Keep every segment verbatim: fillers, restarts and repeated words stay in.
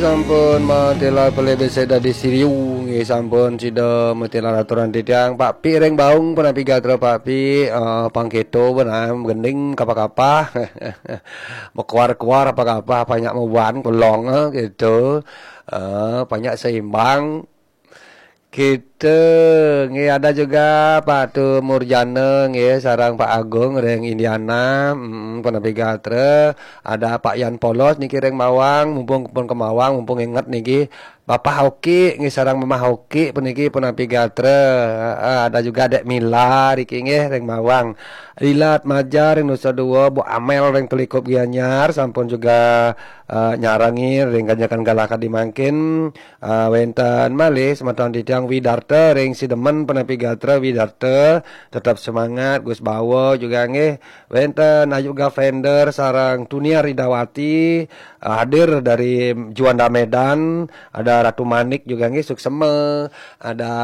Sampun matilar pelih besik dadi siriu, nggih, sampun sida matilar aturan titiang. Pak Pi ring Baung, punapi gatra Pak Pi? Eh, pang keto benang, gending kapah-kapah. Mekuar-kuar apa kapah, banyak mawan, kelong, eh, gitu. Eh, banyak seimbang. Kita, nggih, ada juga Pak Tu Murjana, nggih, sareng Pak Agung ring Indiana, mm, punapi gatra. Ada Pak Yan Polos niki ring Mawang, mumpung pun ke Mawang, mumpung inget niki. Bapak Hoki, nggih, sareng Mamah Hoki puniki punapi gatra. Heeh, ada juga Dek Mila riki, nggih, ring Mawang. Lila Atmaja ring Nusa Dua, Bu Amel ring Telikup Gianyar, sampun juga, eh, nyarengi ring ganjakan galah kadi mangkin. Ah, wénten malih semeton titiang Widarta ring Sidemen, punapi gatra Widarta, tetap semangat, Gus Bawa juga nggih. Wénten Ayu Gavender sareng Tunia Ridawati, ah, hadir dari Juanda Medan, ada Ratu Manik juga nggih, suksema, ada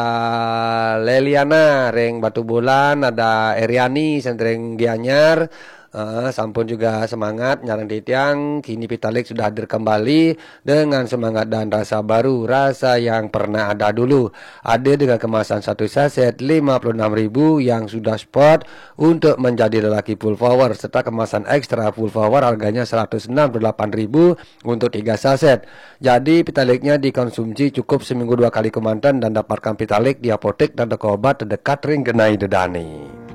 Leliana ring Batubulan, ada Eriani sentring Gianyar, eh, sampun juga semangat nyareng titiang, kini Pitalik sudah hadir kembali dengan semangat dan rasa baru, rasa yang pernah ada dulu. Hadir dengan kemasan satu saset lima puluh enam ribu yang sudah spot untuk menjadi lelaki full power, serta kemasan ekstra full power harganya seratus enam puluh delapan ribu untuk tiga saset. Jadi, Pitaliknya dikonsumsi cukup seminggu dua kali kemanten dan dapatkan Pitalik di apotek dan toko obat terdekat ring genah ida dané.